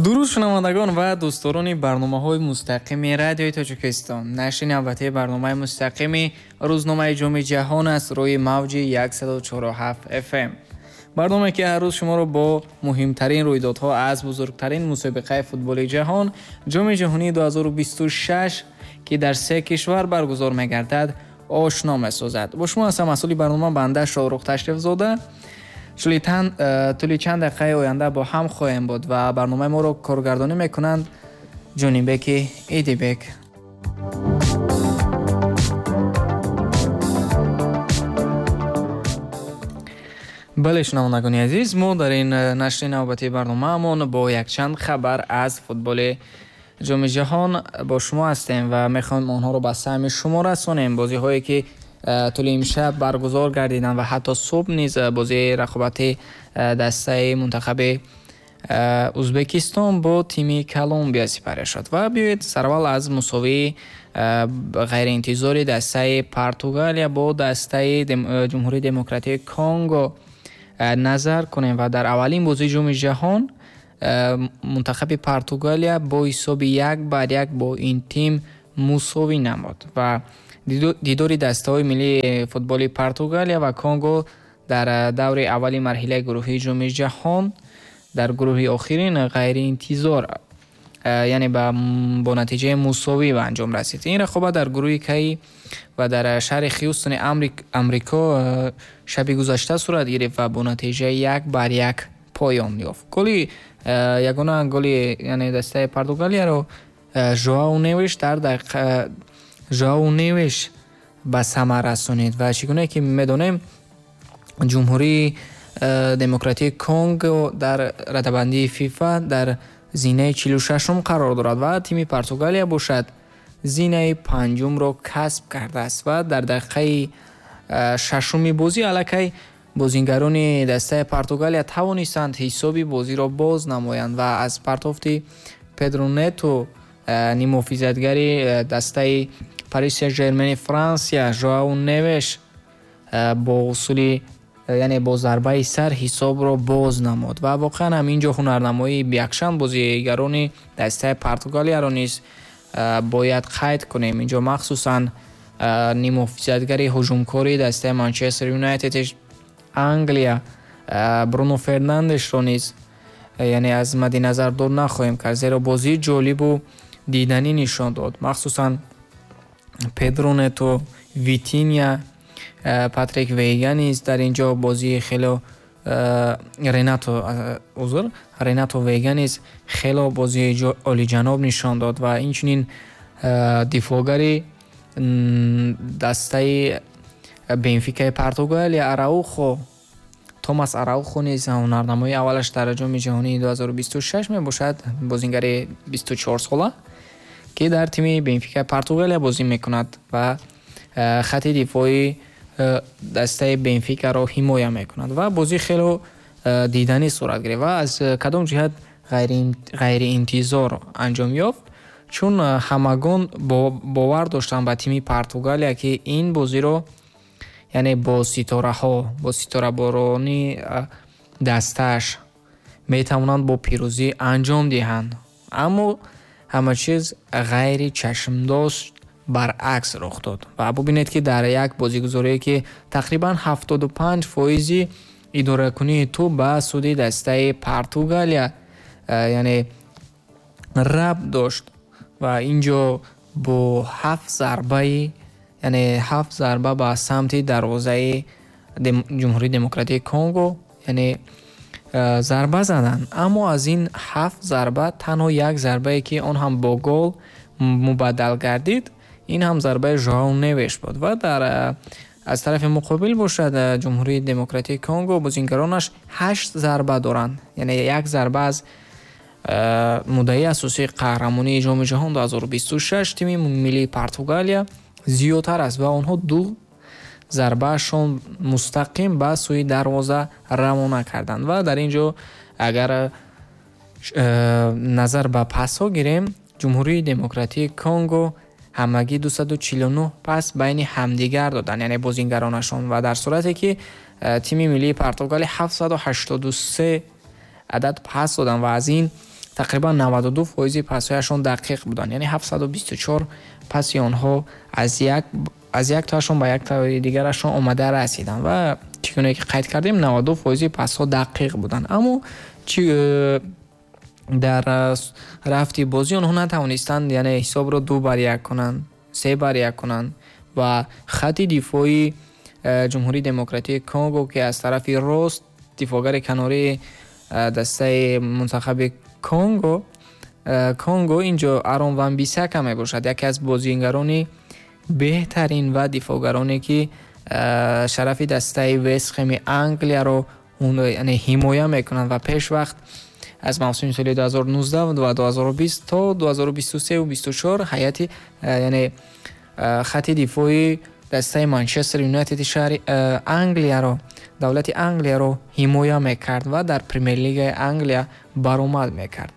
Дуруд шунавандагон ва дӯстдорони барномаҳои мустақими радиои Тоҷикистон. Нашри навбатии барномаи мустақими рӯзномаи Ҷоми ҷаҳон аст рӯи мавҷи 104.7 FM. Барномае ки ҳар рӯз шуморо бо муҳимтарин рӯйдодҳо аз бузургтарин мусобиқаи футболи ҷаҳон, Ҷоми ҷаҳонии 2026, ки дар се кишвар баргузор мегардад, ошно месозад. Бо шумо ҳастам масъули барнома банда Шоҳрух Ташрифзода. Тӯли чанд дақиқаи оянда бо ҳам хоҳем буд ва барномаи моро коргардонӣ мекунанд Ҷонибеки Идибек. Бале, шунавандагони азиз, мо дар ин нашри навбатии барномаамон бо якчанд хабар аз футболи Ҷоми ҷаҳон бо шумо ҳастем ва мехоҳем онҳоро ба самъи шумо расонем. Бозиҳое ки тӯли имшаб баргузор гардиданд ва ҳатто субҳ низ бозии рақобати дастаи мунтахаби Узбекистон бо тими Колумбия сипарӣ шуд. Ва биёед сараввал аз мусовии ғайриинтизори дастаи Португалия бо дастаи Ҷумҳурии Демократии Конго назар кунем. Ва дар аввалин бозии Ҷоми ҷаҳон мунтахаби Португалия бо ҳисоби 1-1 бо ин тим мусовӣ намуд ва дидори дастаҳои миллии футболи Португалия ва Конго дар даври аввали марҳилаи гурӯҳии Ҷоми ҷаҳон дар гурӯҳи охирин ғайриинтизор, яъне бо натиҷаи мусовӣ ба анҷом расид. Ин рақобат дар гурӯҳи Кай ва дар шаҳри Хьюстони Амрико шаби гузашта сурат гирифт ва бо натиҷаи 1-1 поён ёфт. Голи ягона голи, яъне дастаи Португалияро Жоау Невиш дар дақиқа Жоау Невиш ба самар расонид ва чӣ гуна ки медонем, Ҷумҳурии Демократии Конго дар радабандии ФИФА дар зинаи 46-ум қарор дорад ва тими Португалия бошад зинаи 5-умро касб кардааст ва дар дақиқаи 6-уми бозӣ аллакай бозингарони дастаи Португалия тавонистанд ҳисоби бозиро боз намоянд ва аз партофти Педро Нето, нимҳофизатгари дастаи Парис Сен-Жермени Франсия, Жоау Невеш бо усули, яъне бо зарбаи сар ҳисобро боз намуд ва воқеан ҳам инҷо ҳунарнамоии якчанд бозигарони дастаи Португалияро низ бояд қайд кунем. Инҷо махсусан нимҳофизатгари ҳуҷумкори дастаи Манчестер Юнайтед Англия Бруно Фернандешро низ, яъне аз мадди назар дур нахоҳем кард, зеро бозии ҷолибу диданӣ нишон дод. Махсусан Педро Нето, Витиния, Патрик Вейга низ дар ин ҷо бозии хело, Ренато, узр, Ренато Вейга низ хело бозии олиҷаноб нишон дод ва инчунин дифоъгари дастаи Бенфикаи Португалия Араухо, Томас Араухо низ ҳунарнамоии аввалаш дар Ҷоми ҷаҳонии 2026 мебошад, бозингари 24 сола ки дар тими Бенфикаи Португалия бозӣ мекунад ва хати дифоии дастаи Бенфикаро ҳимоя мекунад ва бозӣ хело диданӣ сурат гирифт ва аз кадом ҷиҳат ғайриинтизор анҷом ёфт, чун ҳамагон бовар доштанд ба тими Португалия ки ин бозиро, яъне бо ситораҳо, бо ситораборони дастааш метавонанд бо пирӯзӣ анҷом диҳанд, аммо ҳама чиз ғайри чашмдошт баръакс рух дод. Ва бубинед ки дар як бозигузорие ки тақрибан 75% идоракунии тӯб ба суди дастаи Португалия, яъне рабт дошт ва инҷо бо ҳафт зарбаи, яъне ҳафт зарба ба самти дарвозаи Ҷумҳурии Демократии Конго, яъне зарба заданд, аммо аз ин ҳафт зарба танҳо як зарбае ки он ҳам бо гол мубаддал гардид, ин ҳам зарбаи Жоау Невеш буд. Ва дар аз тарафи муқобил бошад, Ҷумҳурии Демократии Конго бозингаронаш ҳашт зарба доранд, яъне як зарба аз муддаи асосии қаҳрамонии Ҷоми ҷаҳон 2026 тими миллии Португалия зиёдтар аст ва онҳо ду зарбаашон мустақим ба сӯи дарвоза равона карданд. Ва дар ин ҷо агар назар ба пасҳо гирем, Ҷумҳурии Демократии Конго ҳамагӣ 249 пас байни ҳамдигар доданд, яъне бозингаронашон, ва дар сурате ки тими миллии Португалия 783 адад пас доданд ва аз ин Тақрибан 92% пасҳояшон дақиқ буданд, яъне 724 паси онҳо аз як тоашон ба як тои дигарашон омада расиданд ва чӣ гуна ки қайд кардем, 92% пасҳо дақиқ буданд. Аммо дар рафти бозӣ онҳо натавонистанд, яъне ҳисобро 2-1 кунанд, 3-1 кунанд ва хати дифоии Ҷумҳурии Демократии Конго, ки аз тарафи рост дифогари канории дастаи мунтахаби Конго инҷо Арон Ван Бисака мебошад, яке аз бозигарони беҳтарин ва дифогароне ки шарафи дастаи Вестхеми Англияро яъне ҳимоя мекунанд ва пешвақт аз мавсими соли 2019 ва 2020 то 2023 ва 24 ҳайати яъне хати дифои дастаи Манчестер Юнайтеди шаҳри Англияро, давлати Англияро ҳимоя мекард ва дар Премер-лигаи Англия баромад мекард.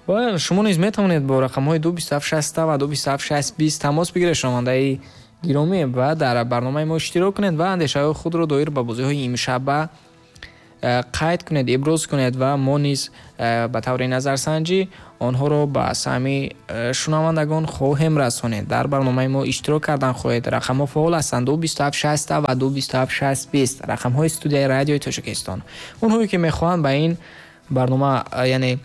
Ва шумо низ метавонед бо рақамҳои 22760 ва 2276020 тамос бигиред, шунавандаи гиромӣ, ва дар барномаи мо иштирок кунед ва андешаҳои худро доир ба бозиҳои имшаба қайд кунед, иброз кунед ва мо низ ба таври назарсанҷӣ онҳоро ба саҳми шунавандагон хоҳем расонед. Дар барномаи мо иштирок кардан хоҳед. Рақамҳо фаъол ҳастанд: 22760 ва 2276020, рақамҳои студияи радиои Тоҷикистон. Онҳое ки мехоҳанд ба ин барнома яъне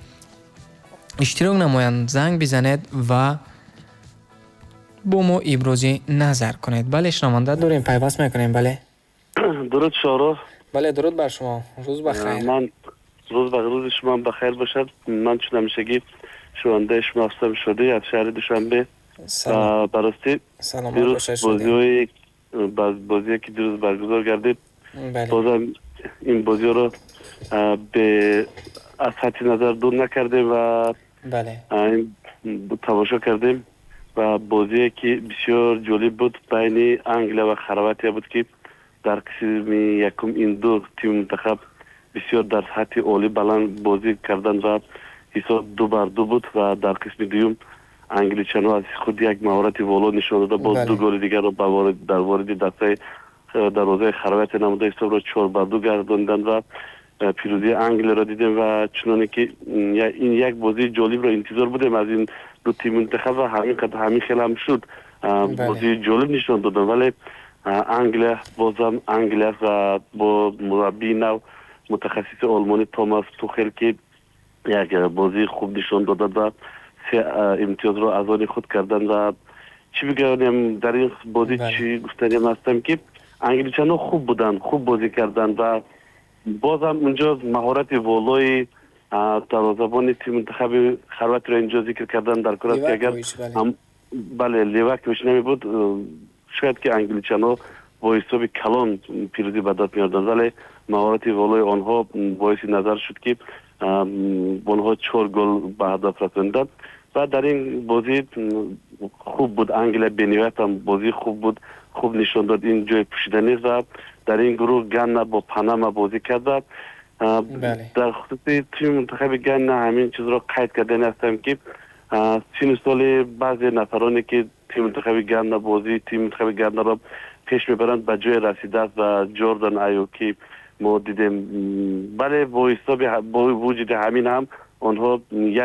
иштирок намоянд, занг бизанед ва бо мо ибрози назар кунед. Бале, шунаванда дорем, пайваст мекунем. Бале, дуруд Шоҳрух. Бале, дуруд бар шумо. Рӯз ба хайр. Ман рӯз ба рӯзи шумо ба хайр бошад. Ман чун ҳамешагӣ шунавандаи шумо ҳастам, Шодӣ аз шаҳри Душанбе. Ба ростӣ дирӯз бозие ки дирӯз баргузор гардид, бозам ин бозиро аз сатҳи назар дур накардем ва тамошо кардем ва бозие ки бисёр ҷолиб буд байни Англия ва Хорватия буд, ки дар қисми якум ин ду тими мунтахаб бисёр дар сатҳи олӣ баланд бозӣ карданд ва ҳисоб 2-2 буд ва дар қисми дуюм англичанҳо аз худ як маҳорати воло нишон дода, боз ду голи дигарро дар вориди дастаи дарвозаи Хорватия намуда ҳисобро 4-2 гардониданд ва пирӯзии Англияро дидем ва чуноне ки ин як бозии ҷолибро интизор будем аз ин ду тими мунтахаб ва ҳамин хел ҳам шуд. Бозии ҷолиб нишон доданд, вале Англия бозам Англия ва бо мураббии нав мутахассиси олмонӣ Томас Тухел, ки як бозии хуб нишон додад ва се имтиёзро аз они худ карданд. Ва чӣ бигӯям дар ин бозӣ, чӣ гуфтанем ҳастам, ки англичанҳо хуб буданд, хуб бозӣ карданд ва бозам унҷо маҳорати волои дарвозабони тими мунтахаби Хорватияро инҷо зикр кардан дар кор аст, ки агар бале Ливакович намебуд, шояд ки англичанҳо бо ҳисоби калон пирӯзӣ ба даст меоварданд, вале маҳорати волои онҳо боиси назар шуд, ки онҳо 4 гол ба ҳадаф расонданд ва дар ин бозӣ хуб буд. Англия бениҳоят ҳам бозии хуб буд, хуб нишон дод, ин ҷои пӯшида нест ва дар ин гурӯҳ Ганна бо Панама бозӣ кард. Дар хусуси тими мунтахаби Ганна ҳамин чизро қайд кардани ҳастам, ки сину соли баъзе нафароне ки тими мунтахаби Ганна бозии тими мунтахаби Ганнаро пеш мебаранд ба ҷое расидааст ва Ҷордан Аю ки мо дидем, бале бо ҳисоби бо вуҷуди ҳамин ҳам онҳо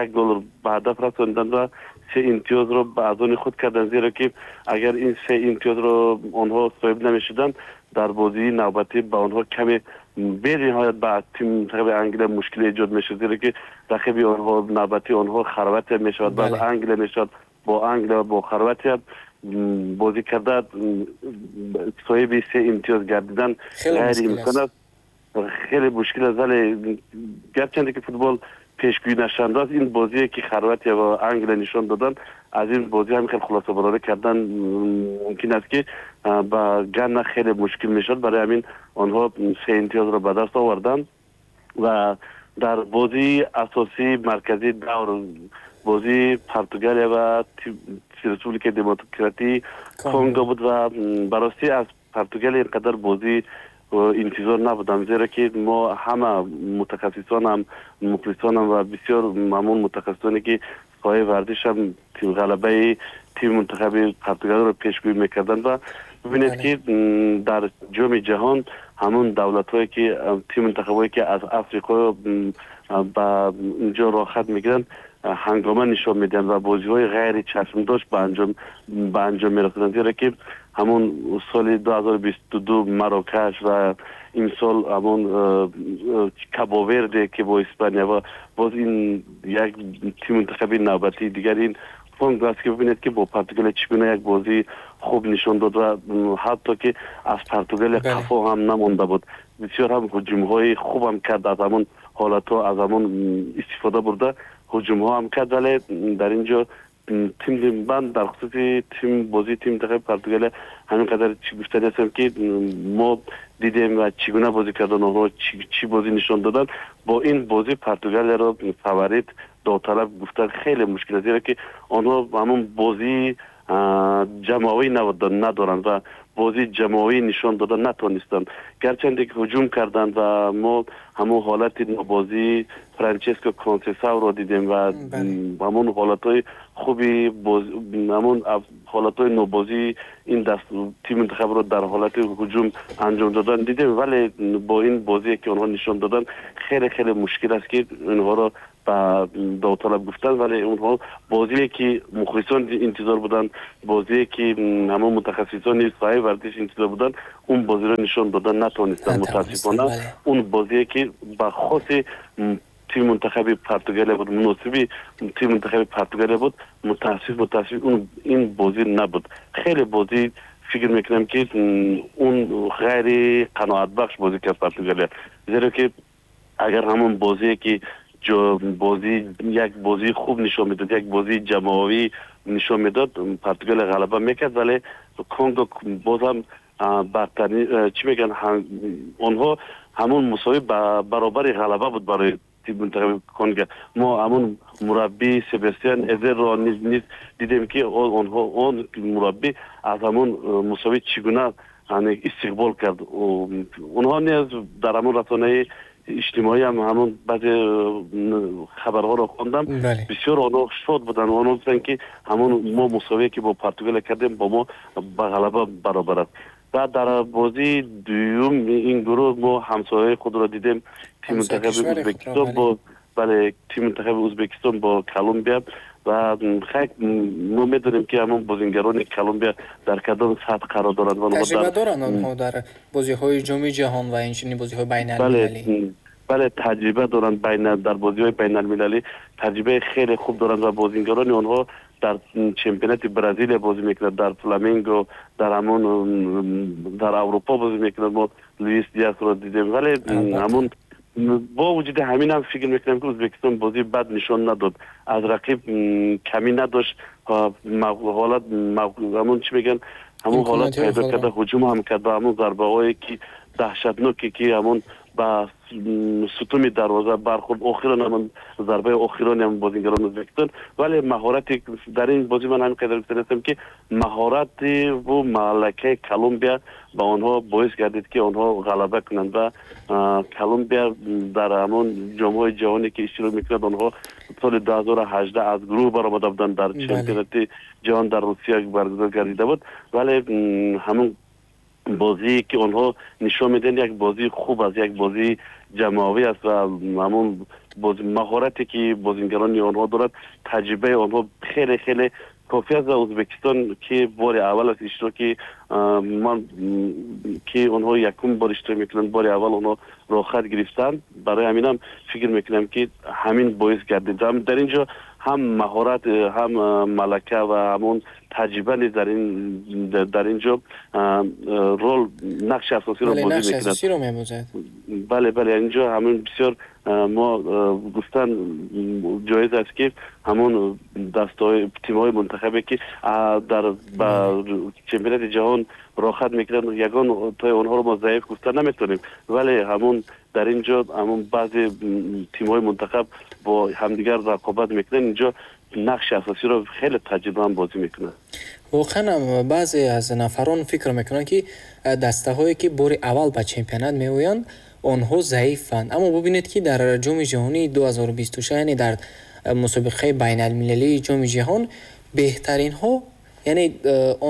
як гол ба ҳадаф расонданд ва се имтиёзро ба аз они худ карданд, зеро ки агар ин се имтиёзро онҳо соҳиб намешуданд, дар бозии навбатӣ ба онҳо каме бениҳоят ба тими мунтахаби Англия мушкиле эҷод мешуд, зеро ки рақиби онҳо навбатии онҳо Хорватия мешавад, баъд Англия мешавад. Бо Англия ва бо Хорватия бозӣ карда соҳиби се имтиёз гардидан ғайриимкон аст, хеле мушкил аст. Вале гарчанде ки футбол пешгӯӣ нашаванда аст, ин бозие ки Хорватия ва Англия нишон доданд, аз ин бозӣ ҳам хеле хулосабарорӣ кардан мумкин аст, ки ба Ганна хеле мушкил мешавад. Барои ҳамин онҳо се имтиёзро ба даст оварданд ва дар бозии асосии марказии давр, бозии Португалия ва Республикаи Демократии Конго буд ва ба ростӣ аз Португалия ин қадар бозӣ интизор набудам, зеро ки мо ҳама мутахассисонам, мухлисонам ва бисёр ҳамон мутахассисоне ки соҳаи варзишам ғалабаи тими мунтахаби Португалияро пешгӯӣ мекарданд ва бибинед, ки дар ҷоми ҷаҳон ҳамон давлатҳое ки тими мунтахабҳое ки аз Африқо ба инҷо роҳхат мегиранд, ҳангома нишон медиҳанд ва бозиҳои ғайри чашмдошт ба анҷом мерасонанд, зеро ки ҳамон соли 2022 Марокаш ва имсол ҳамон Кабоверде, ки бо Испания, ва боз ин як тими мунтахаби навбатии дигар ин Конго аст, ки бибинед, ки бо Португалия чӣ гуна як бозии хуб нишон дод ва ҳатто ки аз Португалия қафо ҳам намонда буд, бисёр ҳам ҳуҷумҳои хубам кард, аз ҳамон ҳолатҳо, аз ҳамон истифода бурда ҳуҷумҳо ҳам кард. Вале дар ин ҷо тим, ман дар хусуси тим, бозии тими мунтахаби Португалия ҳамин қадар чӣ гуфтани ҳастам, ки мо дидем ва чӣ гуна бозӣ кардан, онҳо чӣ бозӣ нишон доданд. Бо ин бозӣ Португалияро фаворит, довталаб гуфтан хеле мушкил аст, зеро ки онҳо ҳамон бозии ҷамоавӣ надоранд ва бозии ҷамоавӣ нишон дода натонистанд, гарчанде ки ҳуҷум карданд ва мо ҳамон ҳолати бозии Франческо Консесауро дидем ва ҳамон ҳолатҳои хуби, ҳамон ҳолатҳои нобозии ин даст тими мунтахабро дар ҳолати ҳуҷум анҷом додан дидем. Вале бо ин бозие, ки онҳо нишон доданд, хеле хеле мушкил аст, ки инҳоро ба довталаб гуфтан. Вале онҳо бозие, ки мухлисон интизор буданд, бозие, ки ҳамон мутахассисони соҳаи варзиш интизор буданд, он бозиро нишон додан натонистанд, мутаассифона. Он бозие, ки ба хоси тими мунтахаби Португалия буд, муносиби тими мунтахаби Португалия буд, мутаассиф ин бозӣ набуд. Хеле бозӣ, фикр мекунам, ки он ғайри қаноатбахш бозӣ кард Португалия, зеро ки агар ҳамон бозие, ки бозӣ, як бозии хуб нишон медод, як бозии ҷамоавӣ нишон медод, Португалия ғалаба мекард. Вале Конго бозам бартарӣ, чӣ мегӯянд, онҳо ҳамон мусовӣ баробари ғалаба буд барои мунтахаби Конго. Мо ҳамон мураббӣ Себастиан Эзерро низ дидем, ки онҳо, он мураббӣ аз ҳамон мусовӣ чӣ гуна истиқбол кард. Онҳо низ дар ҳамон расонаи иҷтимоӣ ҳам ҳамон баъзе хабарҳоро хондам, бисёр онҳо шод буданд. Онҳо гуфтанд, ки ҳамон мо мусовие, ки бо Португалия кардем, бо мо ба ғалаба баробар аст. Ва дар бозии дуюм ин гурӯҳ мо ҳамсояи худро дидем, тими мунтахаби Ӯзбекистон бо, бале, тими мунтахаби Ӯзбекистон бо Колумбия. Ва хайр, мо медонем, ки ҳамон бозингарони Колумбия дар кадом сатҳ қарор доранд. Таҷриба доранд онҳо дар бозиҳои Ҷоми ҷаҳон ва инчунин бозиҳои байналмилалӣ. Бале, таҷриба доранд, дар бозиҳои байналмилалӣ таҷрибаи хеле хуб доранд ва бозингарони онҳо дар чемпионати Бразилия бозӣ мекунад, дар Фламенго, дар ҳамон дар Аврупо бозӣ мекунад. Мо Луис Диасро дидем. Вале ҳамон бо вуҷуди ҳамин ҳам фикр мекунам, ки Ӯзбекистон бозии бад нишон надод, аз рақиб камӣ надошт, ҳолат, ҳамон чӣ мегӯянд, ҳамон ҳолат пайдо карда ҳуҷум ҳам кард ва ҳамон зарбаҳое, ки даҳшатноке, ки ҳамон ба сутуни дарвоза бархӯрд, охирон ҳамон зарбаи охирони ҳамон бозингарони Ӯзбекистон. Вале маҳорати дар ин бозӣ ман ҳамин қадар гуфтанистам, ки маҳорати ву малакаи Колумбия ба онҳо боис гардид, ки онҳо ғалаба кунанд. Ва Колумбия дар ҳамон ҷомҳои ҷаҳоне, ки иштирок мекунад, онҳо соли 2018 аз гурӯҳ баромада буданд, дар чемпионати ҷаҳон дар Русия баргузор гардида буд. Вале ҳамон бозие, ки онҳо нишон медиҳанд, як бозии хуб аст, як бозии ҷамоавӣ аст ва ҳамон маҳорате, ки бозингарони онҳо дорад, таҷрибаи онҳо хеле хеле кофӣ аст. Ва Ӯзбекистон, ки бори аввал аст иштироки ман, ки онҳо якум бор иштирок мекунанд, бори аввал онҳо роҳхат гирифтанд, барои ҳаминам фикр мекунам, ки ҳамин боис гардид. Дар ин ҷо ҳам маҳорат, ҳам малака ва ҳамон таҷриба низ дар ин ҷо рол, нақши асосиро бозӣ мекунад. Бале, инҷо ҳамин бисёр мо гуфтан ҷоиз аст, ки ҳамон дастаҳои, тимҳои мунтахабе, ки дар ба чемпионати ҷаҳон роҳхат мекунанд, ягон тои онҳоро мо заиф гуфта наметавонем. Вале ҳамон дар ин ҷо ҳамон баъзе тимҳои мунтахаб бо ҳамдигар рақобат мекунанд, инҷо нақши асосиро хеле таҷриба ҳам бозӣ мекунад. Воқеан, баъзе аз нафарон фикр мекунанд, ки дастаҳое, ки бори аввал ба чемпионат меоянд, онҳо заифанд. Аммо бубинед, ки дар Ҷоми ҷаҳонии 2026, яъне дар мусобиқаи байналмилалии Ҷоми ҷаҳон, беҳтаринҳо, яъне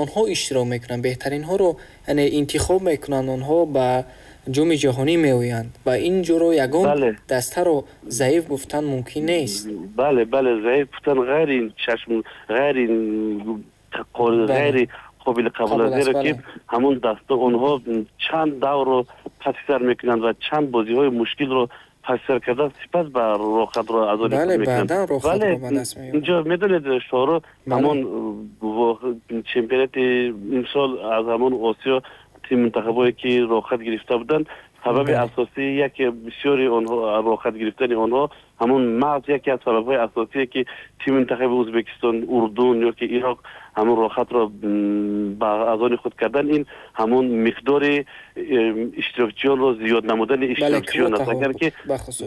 онҳо иштирок мекунанд, беҳтаринҳоро, яъне интихоб мекунанд, онҳо ба Ҷоми ҷаҳонӣ меоянд ва ин ҷоро ягон дастаро заиф гуфтан мумкин нест. Бале, бале, заиф гуфтан ғайри чашм, ғайри қобили қабул аст, зеро ки ҳамон даста онҳо чанд даврро паси сар мекунанд ва чанд бозиҳои мушкилро паси сар кардан, сипас ба роҳхатро аз он мекунанд. Вале инҷо медонед, Шоҳро, ҳамон чемпионати имсол аз ҳамон Осиё тим мунтахабҳое ки роҳхат гирифта буданд, сабаби асосии яке бисёри онҳо роҳхат гирифтани онҳо ҳамон маҳз яке аз сабабҳои асосие ки тими мунтахаби Ӯзбекистон, Урдун ё ки Ироқ ҳамон роҳхатро ба аз они худ кардан, ин ҳамон миқдори иштирокчиёнро зиёд намудани иштирокчиён аст. Агар ки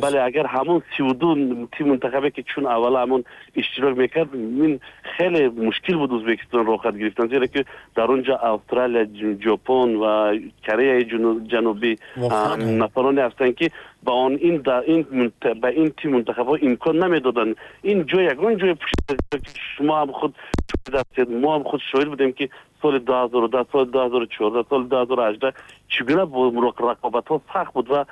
бале, агар ҳамон 32 тим мунтахабе ки чун аввала ҳамон иштирок мекард, ин хеле мушкил буд Ӯзбекистон роҳхат гирифтан, зеро ки дар он ҷо Австралия, Ҷопон ва Кореяи Ҷанубӣ нафароне ҳастанд ки ба он ин ба ин тим мунтахабҳо имкон намедоданд. Ин ҷой ягон ҷои шумо ҳам худ шоҳид ҳастед, мо ҳам худ шоҳид будем ки соли 2010, соли 2014, соли 2018 чӣ гуна рақобатҳо сахт буд ва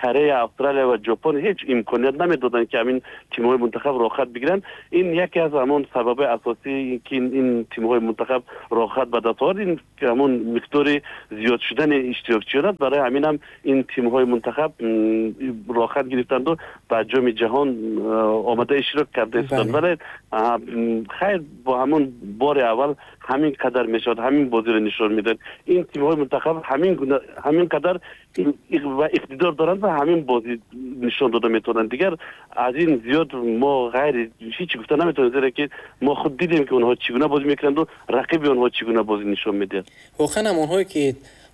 Корея, Австралия ва Ҷопон ҳеҷ имконият намедоданд ки ҳамин тимҳои мунтахаб роҳхат бигиранд. Ин яке аз ҳамон сабабҳои асосӣ ки ин тимҳои мунтахаб роҳхат ба даст овард, ин ҳамон миқдори зиёд шудани иштирокчиён аст. Барои ҳамин ҳам ин тимҳои мунтахаб роҳхат гирифтанду ба Ҷоми ҷаҳон омада иштирок карда истоданд. Вале хайр, бо ҳамон бори аввал ҳамин қадар мешавад, ҳамин бозиро нишон медиҳад. Ин тимҳои мунтахаб ҳамин гуна, ҳамин қадар ва иқтидор доранд ва ҳамин бозӣ нишон дода метавонанд. Дигар аз ин зиёд мо ғайри ҳеҷ гуфта наметавонем, зеро ки мо худ дидем ки онҳо чӣ гуна бозӣ мекунанд ва рақиби онҳо чӣ гуна бозӣ нишон медиҳад. Воқеан ҳам онҳое ки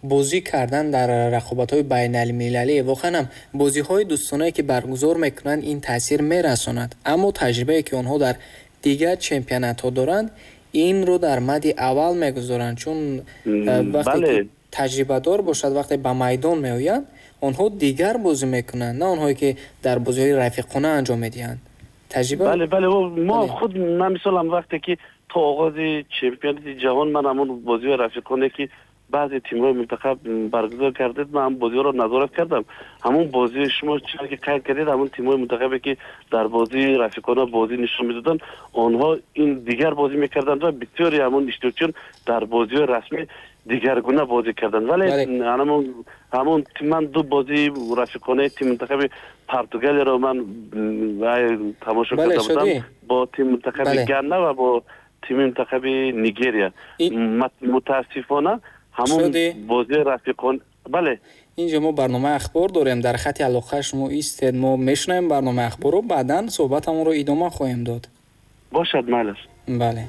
бозӣ кардан дар рақобатҳои байналмилалӣ, воқеан ҳам бозиҳои дӯстонае ки баргузор мекунанд, ин таъсир мерасонад, аммо таҷрибае ки онҳо дар дигар чемпионатҳо доранд, инро дар мадди аввал мегузоранд, чун вақте ки таҷрибадор бошад, вақте ба майдон меоянд, онҳо дигар бозӣ мекунанд, на онҳое ки дар бозиҳои рафиқона анҷом медиҳанд. Таҷриба. Бале, бале, мо худ ман мисолам вақте ки то оғози чемпионати ҷаҳон ман ҳамон бозиҳои рафиқоне ки баъзе тимҳои мунтахаб баргузор кардед, ман ҳам бозиҳоро назорат кардам. Ҳамон бозии шумо чизе ки қайд кардед, ҳамон тимҳои мунтахабе ки дар бозии рафиқона бозӣ нишон медоданд, онҳо ин дигар бозӣ мекарданд ва бисёри ҳамон иштирокчиён дар бозиҳои расмӣ дигаргуна бозӣ карданд. Вале ҳамон ман ду бозии рафиқонаи тими мунтахаби Португалияро ман тамошо карда будам бо тими мунтахаби Ганна ва бо тими мунтахаби Нигерия. Мутаассифона ҳамон бозии рафиқон. Бале, инҷо мо барномаи ахбор дорем, дар хати алоқа шумо истед, мо мешунавем барномаи ахборро, баъдан суҳбатамонро идома хоҳем дод. Бошад, майлаш. Бале.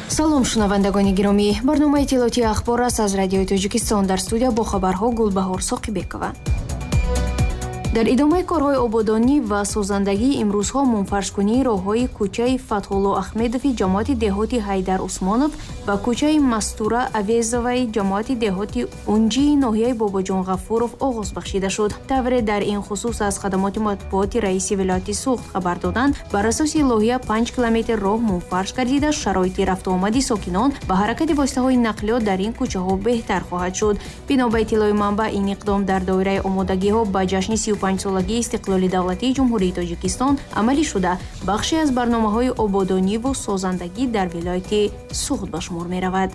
Салом, шунавандагони гиромӣ. Барномаи иттилоотии ахбор аст аз Радиои Тоҷикистон. Дар студия бо хабарҳо Гулбаҳор Соқибекова. Дар идомаи корҳои ободонӣ ва созандагӣ имрӯзҳо мунфаршкунии роҳҳои кӯчаи Фатҳулло Ахмедови ҷамоати деҳоти Ҳайдар Усмонов ва кӯчаи Мастура Авезоваи ҷамоати деҳоти Унҷии ноҳияи Бобоҷон Ғафуров оғоз бахшида шуд. Тавре дар ин хусус аз хадамоти матбуоти раиси вилояти Суғд хабар доданд, бар асоси лоҳия 5 километр роҳ мунфарш гардида, шароити рафтуомади сокинон ва ҳаракати воситаҳои нақлиёт дар ин кӯчаҳо беҳтар хоҳад шуд. Бино ба иттилои манбаъ, ин иқдом дар доираи омодагиҳо ба ҷашни 35-солагии истиқлоли давлатии Ҷумҳурии Тоҷикистон амалӣ шуда, бахше аз барномаҳои ободониву созандагӣ дар вилояти Суғд ба шумор меравад.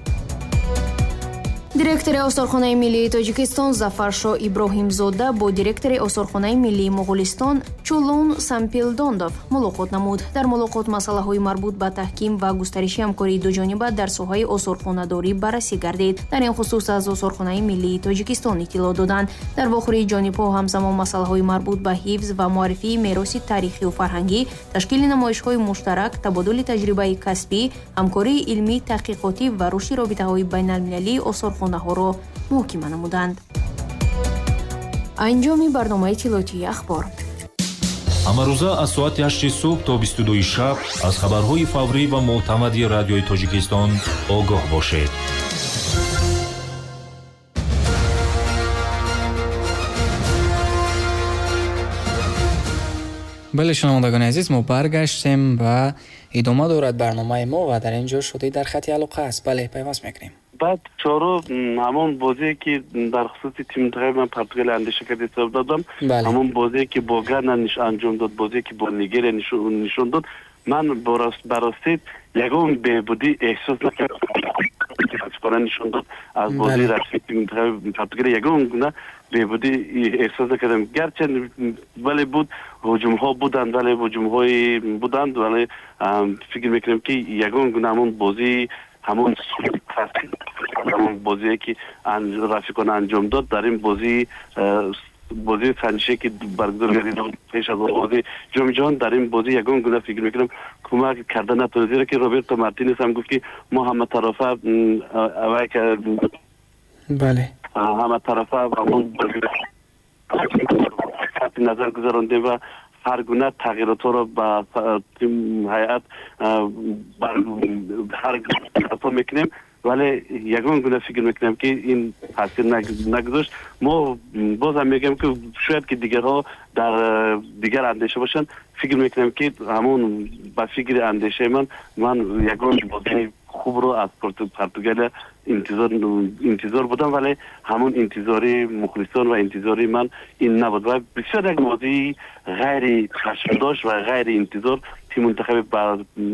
Директори Осорхонаи миллии Тоҷикистон Зафаршо Иброҳимзода бо директори Осорхонаи миллии Моғулистон Чулун Сампилдондов мулоқот намуд. Дар мулоқот масъалаҳои марбут ба таҳким ва густариши ҳамкории дуҷониба дар соҳаи осорхонадорӣ баррасӣ гардид. Дар ин хусус аз Осорхонаи миллии Тоҷикистон иттилоъ доданд. Дар вохӯрии ҷонибҳо ҳамзамон масъалаҳои марбут ба ҳифз ва муаррифии мероси таърихию фарҳангӣ, ташкили намоишҳои муштарак, табодули таҷрибаи касбӣ, ҳамкории илмӣ, таҳқиқотӣ ва рушди робитаҳои байналмилалии осорхонаҳоро муҳокима намуданд. Анҷоми барномаи иттилоотии ахбор. Ҳамарӯза аз соати 8 субҳ то 22 шаб аз хабарҳои фаврӣ ва мӯътамади Радиои Тоҷикистон огоҳ бошед. Бале, шунавандагони азиз, мо баргаштем ва идома дорад барномаи мо ва дар ин ҷо Шодӣ дар хати алоқа аст. Бале, пайваст мекунем. Баъд чору ҳамон бозие, ки дар хусуси тими мунтахаби ман Португалия андеша карда ҳисоб додам, ҳамон бозие, ки бо Гана анҷом дод, бозие, ки бо Нигерия нишон дод, ман ба ростӣ ягон беҳбудӣ эҳсос накардам. Нишон дод аз бозии расмии тими мунтахаби Португалия ягон гуна беҳбудӣ эҳсос накардам. Гарчанд, вале буд, ҳуҷумҳо буданд, вале ҳуҷумҳои буданд, вале фикр мекунам, ки ягон гуна ҳамон бозии, ҳамон бозие, ки рафиқона анҷом дод дар ин бозии санҷише, ки баргузор гардид пеш аз оғози Ҷоми ҷаҳон, дар ин бозӣ ягон гуна, фикр мекунам, кӯмак карда натавонист, зеро ки Роберто Мартинес ҳам гуфт, ки мо ҳаматарафа ҳаматарафа назар гузарондем ва ҳар гуна тағйиротҳоро ба ҳайат ҳар мекунем, вале ягон гуна, фикр мекунам, ки ин таъсир нагузошт. Мо бозам мегӯям, ки шояд ки дигарҳо дар дигар андеша бошанд. Фикр мекунам, ки ҳамон ба фикри андешаи ман ягон бозии хубро аз Португалия интизор будам, вале ҳамон интизори мухлисон ва интизори ман ин набуд ва бисёр як бозии ғайри чашмдошт ва ғайри интизор тими мунтахаби